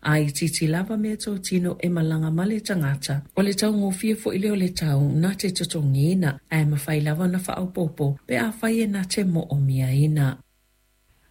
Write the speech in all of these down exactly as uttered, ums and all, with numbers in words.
A itiiti lava meatotino e malaga ma le tagata, o le taugofie foi lea o le tau na te totogiina, ae mafai lava ona faaopoopo pe afai e na te moomiaina.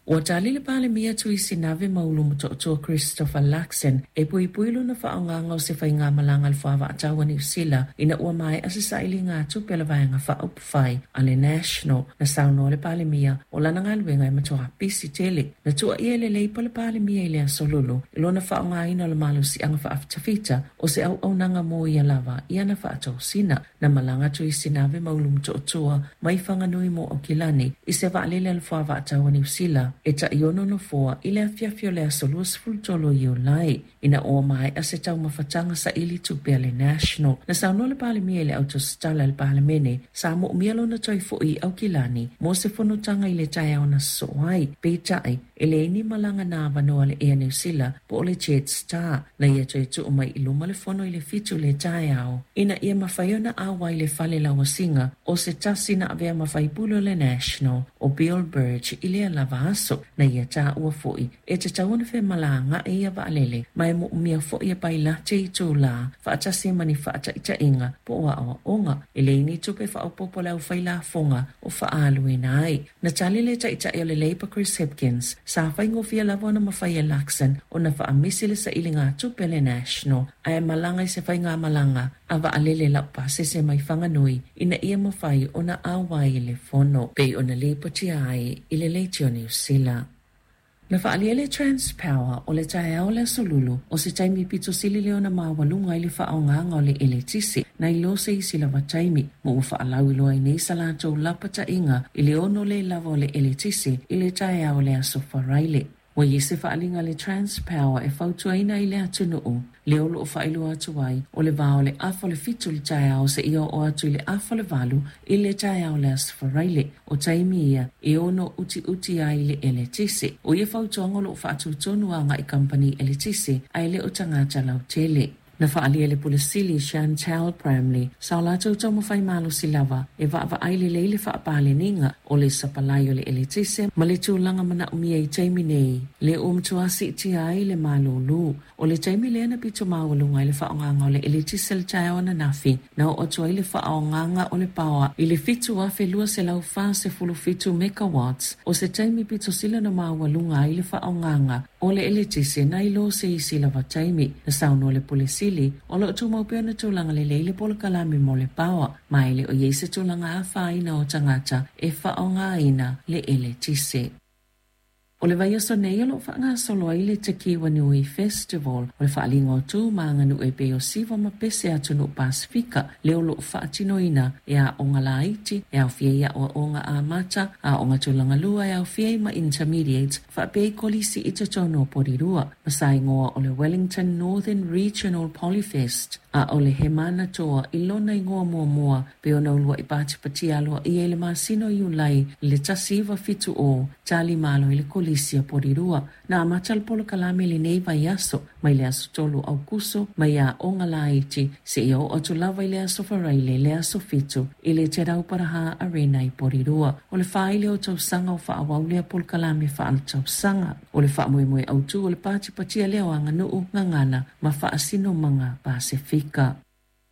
Ua tali le Palemia Tuisi Nave Maulu Motootua Christopher Luxon e puipui lona faaaogaga o se faigamalaga a le fuavaatau a Niu Sila ina ua maea se sailiga tupe a le vaega faaupufai a le National. Na saunoa le Palemia o lana galuega e matuā pisi tele. Na tuuaia e le Leipa le Palemia i le aso Lulu i lona faaaogaina o le malosiaga faafitafita o se auaunaga mo ia lava i ana faatosina. Na malaga Tuisi Nave Maulu Motootua mai Whanganui mo Aukilani i se vaalele a le fuavaatau a Niu Sila e taiono nofoa i le afiafi o le aso luasefulu tolu o Iulai ina ua maea se taumafataga saili tupe a le National. Na saunoa le Palemia i le autositala a le Palemene sa moomia lona toe fo'i i Aukilani mo se fonotaga i le taeao na sosoo ai, peitai e leai ni malaga na avanoa le Air New Sila po o le Jetstar. Na ia toe tuu mai i luma le fono i le fitu le taeao ina ia mafai ona auai i le fale lauasiga o se tasi na avea ma faipule o le National o Bill Burge i lea lava aso. Na ia taua foi e tatau ona femalagaai ia vaalele ma e moomia foi e pailate i itulā faatasi ma ni faataitaiga po o aoaoga. E leai ni tupe faaopoopo le aufailafoga o faaaluina ai. Na tali le taitai o le Labour Chris Hipkins sa faigofie lava ona mafai e Luxon ona faamisi le sailiga tupe le National ae malaga i se faigamalaga a vaalele laupasese mai Whanganui ina ia mafai ona auai i le fono pei ona lipotia ai i le Leitio Niu Sila. Na faaalia e le Transpower o le taeao o le aso Lulu o se taimi pito sili lea ona maualuga i le faaaogaga o le eletise nai lo se isi lava taimi ma ua faalauiloa ai nei sa latou lapataiga i le ono le lava o le eletise i le taeao o le aso Faraile. Ua i ai se faaliga a le Transpower e fautuaina ai le atunuu lea o loo faailoa atu ai o le va o le afa o le fitu i le taeao seia oo atu i le afa o le valu i le taeao o le aso Faraile. O taimi ia e ono utiuti ai le eletise. O ia fautuaga o loo faatutonu agai kamupani eletise ae le o tagata lautele. Na faaalia e le Pule Sili Chantal Bramley sa o latou taumafai malosi lava e vaavaai lelei le faapaleniga o le sapalai o le eletise ma le tulaga manaomia i taimi nei lea ua matua siitia ai le malūlū. O le taimi lea na pito maualuga ai le faaaogaga o le eletise le taeao ananafi na oo atu ai le faaaogaga o le paoa i le fitu afe lua selau fasefulu fitu megawatts o se taimi pito sili ona maualuga ai le faaaogaga o le eletise nai lo se isi lava taimi. Na saunoa le Pule Sili o loo tumau pea ona tulaga lelei le polokalame mo le paoa ma e le o i ai se tulaga afaina o tagata e faaaogaina le eletise. O le vaiaso nei o loo faagasolo ai le Te Kiwa Nui Festival o le faaliga o tu ma aganuu e pei o siva ma pese atunuu Pasifika lea o loo faatinoina e aoga laiti e aofia ai aoaoga amata, aoga tulaga lua e aofia ai ma intermediate faapea i kolisi i totonu o Porirua ma sa igoa o le Wellington Northern Regional Polyfest a o le He Mana Toa i lona igoa muamua pei ona uluai patipatia aloaia i le masina o Iulai i le tasi iva fitu o tali malo i le kolisi a Porirua. Na amata le polokalame lenei vaiaso mai le aso tolu o Aukuso mai aoga laiti seia oo atu lava i le aso Faraile le aso fitu i le Te Rauparaha Arena i Porirua. O le fā ai lea o tausaga o faaauau lea polokalame faaletausaga. O le faamoemoe autū o le patipatia lea o aganuu gagana ma faasinomaga Pasifika.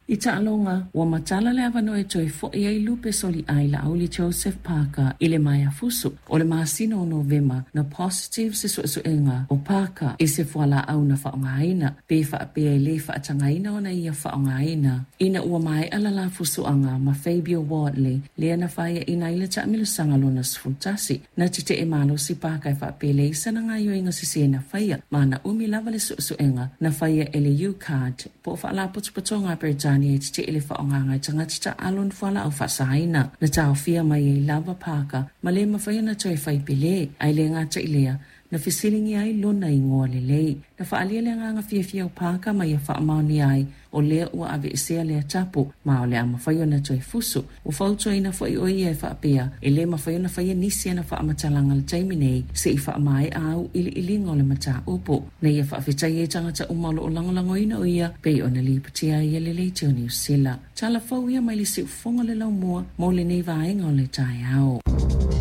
I taaloga, ua matala le avanoa e toe fo'i ai Lupe Soliai Laauli Joseph Parker i le maea fusu. O le masina o Novema na positive se suesuega o Parker i se fualaau na faaaogaina pe faapea e lē faatagaina ona ia faaaogaina ina ua maea lala fusuaga ma Fabio Wardley lea na faiaina ai le taamilosaga lona sefulutasi. Na tetee malosi Parker e faapea e leai sana gaoioiga sesē na faia ma na umi lava le suesuega na faia e le U-Card po o faalapotopotoga a Peretania e tetee le faaaogaga e tagata taaalo ni fualaau faasaina. Na taofia mai ai lava Parker ma le mafai ona toe faipelē ae le gata i lea na fesiligia ai lona igoa lelei. Na faaalia le agaga fiafia o Parker ma ia faamaonia ai o lea ua aveesea lea tapu ma o le a mafai ona toe fusu. Ua fautuaina foi o ia e faapea e lē mafai ona faia nisi ana faamatalaga i le taimi nei se'i faamaea auiliiliga o le mataupu. Na ia faafetaia ai tagata uma o loo lagolagoina o ia pei ona lipotia ai e le Leitio Niu Sila. Tala fou ia mai le siufofoga o le laumua mo lenei vaega o le taeao.